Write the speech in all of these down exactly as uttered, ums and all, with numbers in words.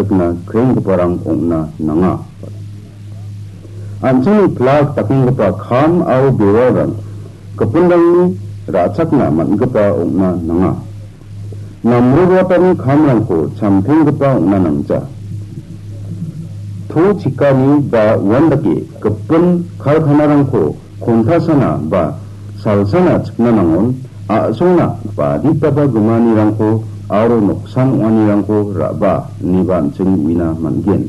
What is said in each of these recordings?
rikna krenggiparang ong·na nanga. An·chingni plak dakenggipa kam aro bewalrang gipinrangni ra·chakna man·gipa ong·na nanga. Namroatani kamrangko chamtenggipa ong·na nangja. To chikani ba uandake gipin karkanarangko kontasana ba salsana chikna nangon, a·songna baditaba gimanirangko aro noksan ong·anirangko ra·ba ineba an·ching uina man·gen.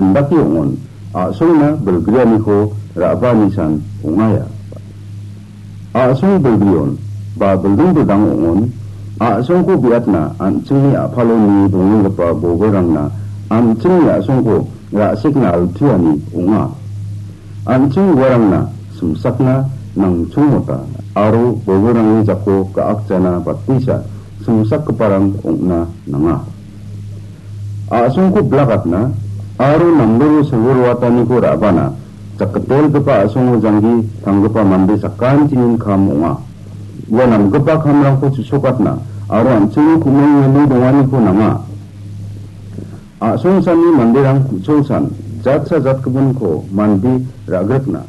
Indake ong·on, a·songna bilgrianiko ra·ba nisan ong·aia. A·song bilgrion ba bilding bildang ong·on, a·songko biatna an·chingni a·palo nie dongenggipa boberangna an·chingni a·songko ra·sekna altuani ong·a. An·ching uarangna simsakna nangchongmota aro boberangni jako ga·akjana batisa simsakgiparang ong·na nanga. A·songko blakatna aro namroro silboroataniko ra·bana jakgitelgipa a·songo janggi tanggipa mande sakantinin kam ong·a. Ua namgipa kamrangko chisokatna aro an·chingni ku·mongni donganiko nanga. A·songsanni manderang ku·cholsan jatsa jatgipinko mande ra·grikna,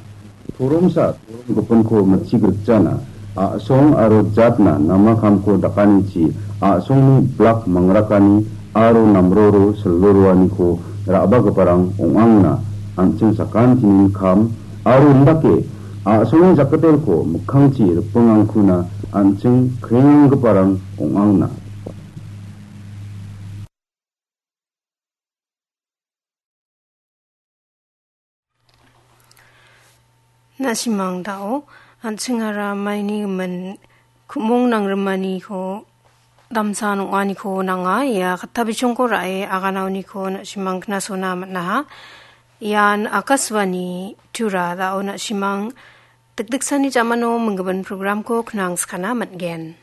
toromsa torom gipinko mitchi grikjana, a·song aro jatna namakamko dakanichi a·songni blak mangrakani aro namroro silboroaniko ra·bagiparang ong·angna an·ching sakantinin kam aro indake a·songni jakgitelko mikkangchi ripingangkuna an·ching krenganggiparang ong·angna. Na·simang dao, an·chingara maini gimin ku·mong nangrimaniko damsa nong·aniko nanga, ia katta bichongko ra·e aganaoniko na·simang knasona man·aha. Ian Akashvani Tura dao na·simang dikdiksani jamano minggimin programko knangskana man·gen.